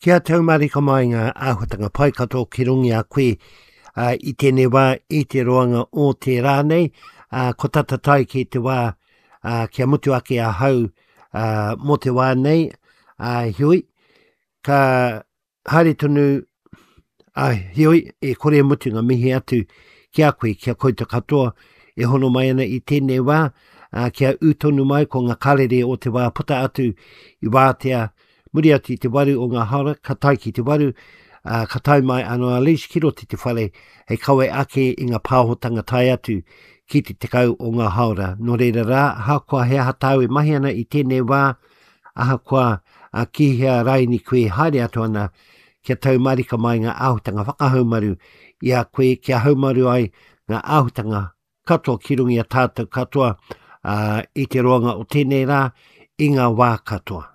Kia tau marika mai ngā āhuatanga pai katoa ki runga i a koe ā, i tēnei wā, i te roanga o te rā nei, ā, ko tata tae ki te wā ā, kia mutu ake ahau ā, mō te wā nei, ā, heoi, ka haere tonu, ā, heoi, e kore e mutu ngā mihi atu ki a koe, ki a koutou katoa e hono mai ana i tēnei wā, ā, kia ū tonu mai ko ngā karere o te wā puta atu i wātea Muri atu i te waru o ngā haora, ka tae ki te waru, ā, ka tae mai anō a Liz ki roto i te whare hei kawe ake i ngā pāhotanga tae atu ki te 10 o ngā haora. Nō reira rā, ahakoa he aha tāu e mahi ana i tēnei wā, ahakoa ā, ki hea raini koe haere atu ana, kia tau marika mai ngā āhutanga whakahaumaru i a koe, kia haumaru ai ngā āhutanga katoa ki runga i a tātou katoa, ā, i te roanga o tēnei rā, i ngā wā katoa.